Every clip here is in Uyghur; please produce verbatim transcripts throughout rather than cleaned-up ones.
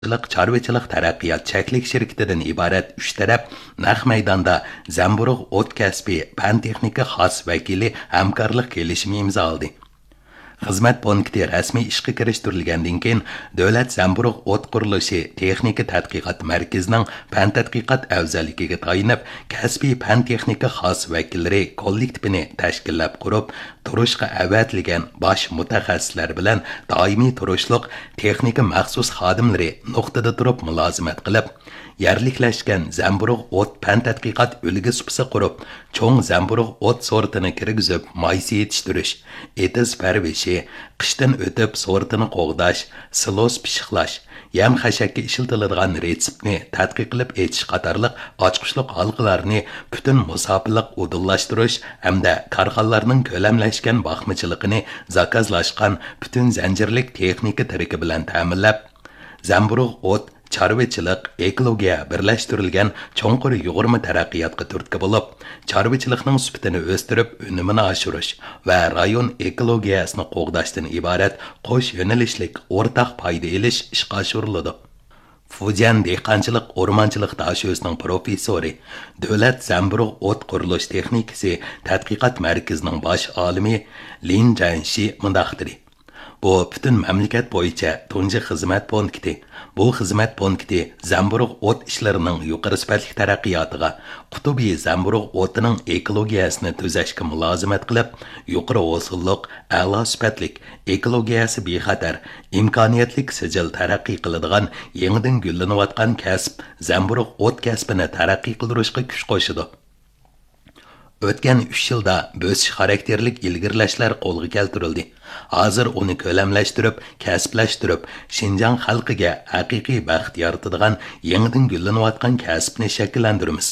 قېزىلماقچىلىق چارۋىچىلىق تەرەققىيات چەكلىك شىركىتىدىن ئىبارەت ئۈچ تەرەپ نەق مەيداندا زەمبۇرۇغ ئوت كەسپى پەن-تېخنىكا خاس ۋەكىلى ھەمكارلىق كېلىشىمى ئىمزالىدى. خىزمەت پونكىتى رەسمىي ئىشقا كىرىشتۈرۈلگەندىن كېيىن، دۆلەت زەمبۇرۇغ ئوت قۇرۇلۇشى تېخنىكا تەتقىقات مەركىزىنىڭ پەن تەتقىقات ئەۋزەللىكىگە تايىنىپ، كەسپىي پەن-تېخنىكا خاس ۋەكىللىرى كوللېكتىپىنى تەشكىللەپ قۇرۇپ، تۇرۇشقا ئەۋەتىلگەن باش مۇتەخەسسىسلەر بىلەن دائىمىي تۇرۇشلۇق تېخنىكا مەخسۇس خادىملىرى نۇقتىدا تۇرۇپ مۇلازىمەت قىلىپ، يەرلىكلەشكەن زەمبۇرۇغ ئوت پەن تەتقىقات ئۈلگە سۇپىسى قۇرۇپ، چوڭ زەمبۇرۇغ ئوت سورتىنى كىرگۈزۈپ، مايسا يېتىشتۈرۈش، ئېتىز پەرۋىشى، قىشتىن ئۆتۈپ سورتىنى قوغداش، سىلوس پىششىقلاش، يەم خەشەككە ئىشلىتىلىدىغان رېتسېپنى تەتقىق قىلىپ ئېچىش قاتارلىق ئاچقۇچلۇق ھالقىلارنى پۈتۈن مۇساپىلىق ئۇدۇللاشتۇرۇش ھەمدە كارخانىلارنىڭ كۆلەملەشكەن باقمىچىلىقىنى زاكازلاشقان پۈتۈن زەنجىرلىك تېخنىكا تىرىكى بىلەن تەمىنلەپ، زەمبۇرۇغ ئوت، چارۋىچىلىق، ئېكولوگىيە بىرلەشتۈرۈلگەن چوڭقۇر يۇغۇرما تەرەققىياتقا تۈرتكە بولۇپ، چارۋىچىلىقنىڭ سۈپىتىنى ئۆستۈرۈپ، ئۈنۈمىنى ئاشۇرۇش ۋە رايون ئېكولوگىيەسىنى قوغداشتىن ئىبارەت قوش يۆنىلىشلىك ئورتاق پايدا ئېلىش ئىشقا ئاشۇرۇلىدۇ. فۇجيەن دېھقانچىلىق ئورمانچىلىق داشۆسىنىڭ پروفېسسورى، دۆلەت زەمبۇرۇغ ئوت قۇرۇلۇش تېخنىكىسى تەتقىقات مەركىزىنىڭ باش ئالىمى لىن جەنشى مۇنداق دېدى: بۇ پۈتۈن مەملىكەت بويىچە تۇنجى خىزمەت پونكىتى. بۇ خىزمەت پونكىتى زەمبۇرۇغ ئوت ئىشلىرىنىڭ يۇقىرى سۈپەتلىك تەرەققىياتىغا، قۇتۇبى زەمبۇرۇغ ئوتىنىڭ ئېكولوگىيەسىنى تۈزەشكە مۇلازىمەت قىلىپ، يۇقىرى ھوسۇللۇق، ئەلا سۈپەتلىك، ئېكولوگىيەسى بىخەتەر، ئىمكانىيەتلىك سىجىل تەرەققىي قىلىدىغان يېڭىدىن گۈللىنىۋاتقان كەسىپ زەمبۇرۇغ ئوت كەسپىنى تەرەققىي قىلدۇرۇشقا كۈچ قوشىدۇ. ئۆتكەن ئۈچ يىلدا بۆسۈش خاراكتېرلىك ئىلگىرىلەشلەر قولغا كەلتۈرۈلدى. ھازىر ئۇنى كۆلەملەشتۈرۈپ، كەسىپلەشتۈرۈپ، شىنجاڭ خەلقىگە ھەقىقىي بەخت يارىتىدىغان يېڭىدىن گۈللىنىۋاتقان كەسىپنى شەكىللەندۈرىمىز.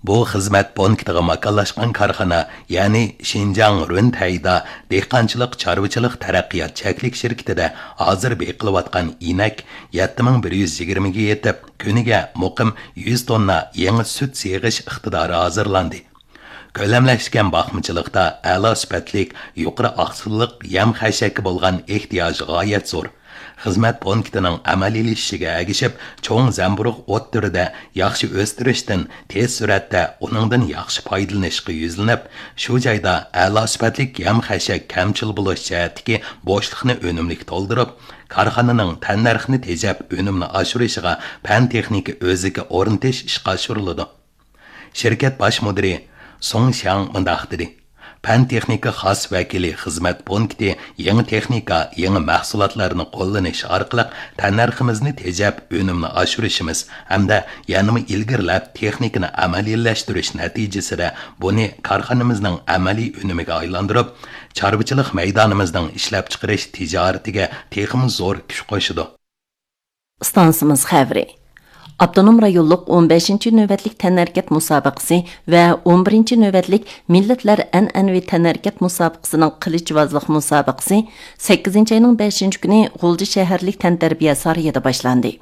بۇ خىزمەت پونكىتىغا ماكانلاشقان كارخانا، يەنى شىنجاڭ رۈنتەيدا دېھقانچىلىق چارۋىچىلىق تەرەققىيات چەكلىك شىركىتىدە ھازىر بېقىلىۋاتقان ئىنەك يەتتە مىڭ بىر يۈز يىگىرمىگە يېتىپ، كۈنىگە مۇقىم يۈز توننا يېڭى سۈت سېغىش ئىقتىدارى ھازىرلاندى. كۆلەملەشكەن باقمىچىلىقتا ئەلا سۈپەتلىك، يۇقىرى ئاقسىللىق يەم خەشەككە بولغان ئېھتىياج غايەت زور. خىزمەت پونكىتىنىڭ ئەمەلىيلىشىشىگە ئەگىشىپ، چوڭ زەمبۇرۇغ ئوت تۈرىدە ياخشى ئۆستۈرۈشتىن تېز سۈرئەتتە ئۇنىڭدىن ياخشى پايدىلىنىشقا يۈزلىنىپ، شۇ جايدا ئەلا سۈپەتلىك يەم خەشەك كەمچىل بولۇش جەھەتتىكى بوشلۇقنى ئۈنۈملۈك تولدۇرۇپ، كارخانىنىڭ تەننەرخنى تېجەپ ئۆنۈمنى ئاشۇرۇشىغا پەن تېخنىكا ئۆزىكى ئورنىتىش ئىشقا ئاشۇرۇلىدۇ. شىركەت باش مۇدىرى سۇڭ شياڭ مۇنداق دېدى: پەن تېخنىكا خاس ۋەكىلى خىزمەت پونكىتى يېڭى تېخنىكا، يېڭى مەھسۇلاتلارنى قوللىنىش ئارقىلىق تەننەرخىمىزنى تېجەپ، ئۈنۈمنى ئاشۇرۇشىمىز ھەمدە يەنىمۇ ئىلگىرىلەپ، تېخنىكىنى ئەمەلىيلەشتۈرۈش نەتىجىسىدە بۇنى كارخانىمىزنىڭ ئەمەلىي ئۈنۈمىگە ئايلاندۇرۇپ، چارۋىچىلىق مەيدانىمىزنىڭ ئىشلەپچىقىرىش تىجارىتىگە تېخىمۇ زور كۈچ قوشىدۇ. ئىستانسىمىز خەۋىرى. ئاپتونوم رايونلۇق ئون بەشىنچى نۆۋەتلىك تەنھەرىكەت مۇسابىقىسى ۋە ئون بىرىنچى نۆۋەتلىك مىللەتلەر ئەنئەنىۋى تەنھەرىكەت مۇسابىقىسىنىڭ قىلىچۋازلىق مۇسابىقىسى سەككىزىنچى ئاينىڭ بەشىنچى كۈنى غۇلجا شەھەرلىك تەنتەربىيە سارىيىدا باشلاندى.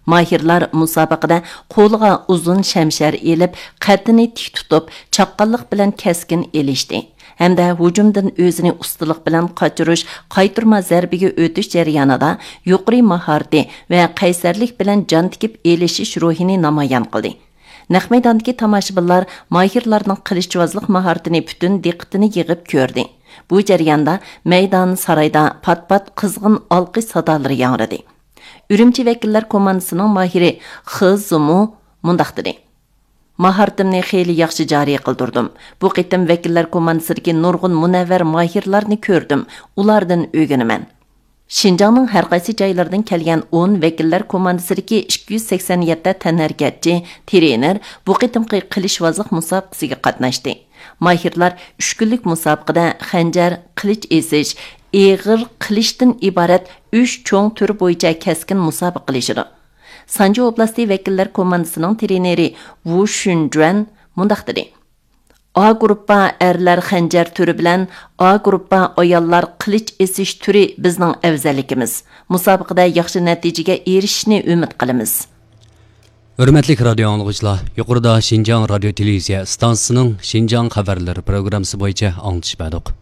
ماھىرلار مۇسابىقىدە قولىغا ئۇزۇن شەمشەر ئېلىپ، قەددىنى تىك تۇتۇپ، چاققانلىق بىلەن كەسكىن ئېلىشتى ھەمدە ھۇجۇمدىن ئۆزىنى ئۇستىلىق بىلەن قاچۇرۇش، قايتۇرما زەربىگە ئۆتۈش جەريانىدا يۇقىرى ماھارىتى ۋە قەيسەرلىك بىلەن جان تىكىپ ئېلىشىش روھىنى نامايان قىلدى. نەق مەيداندىكى تاماشىبىنلار ماھىرلارنىڭ قىلىچۋازلىق ماھارىتىنى پۈتۈن دىققىتىنى يىغىپ كۆردى. بۇ جەرياندا مەيدان سارايدا پات-پات قىزغىن ئالقىش سادالىرى ياڭرىدى. ئۈرۈمچى ۋەكىللەر كوماندىسىنىڭ ماھىرى خې زىمۇ مۇنداق دېدى: ماھارىتىمنى خېلى ياخشى جارى قىلدۇردۇم. بۇ قېتىم ۋەكىللەر كوماندىسىدىكى نۇرغۇن مۇنەۋۋەر ماھىرلارنى كۆردۈم، ئۇلاردىن ئۆگىنىمەن. شىنجاڭنىڭ ھەر قايسى جايلىرىدىن كەلگەن ئون ۋەكىللەر كوماندىسىدىكى ئىككى يۈز سەكسەن يەتتە تەنھەرىكەتچى، ترېنېر بۇ قېتىمقى قىلىچۋازلىق مۇسابىقىسىگە قاتناشتى. ماھىرلار ئۈچ كۈنلۈك مۇسابىقىدە خەنجەر، قىلىچ ئېسىش، ئېغىر قىلىچتىن ئىبارەت ئۈچ چوڭ تۈر بويىچە كەسكىن مۇسابىقىلىشىدۇ. سانجى ئوبلاستى ۋەكىللەر كوماندىسىنىڭ ترېنېرى ۋۇ شۈنجۈەن مۇنداق دېدى: ئا گۇرۇپپا ئەرلەر خەنجەر تۈرى بىلەن ئا گۇرۇپپا ئاياللار قىلىچ ئېسىش تۈرى بىزنىڭ ئەۋزەللىكىمىز. مۇسابىقىدە ياخشى نەتىجىگە ئېرىشىشنى ئۈمىد قىلىمىز. ھۆرمەتلىك رادىئو ئاڭلىغۇچىلار، يۇقىرىدا شىنجاڭ رادىيو تېلېۋىزىيە ئىستانسىسىنىڭ شىنجاڭ خەۋەرلىرى پروگراممىسى بويىچە ئاڭلىتىش بەردۇق.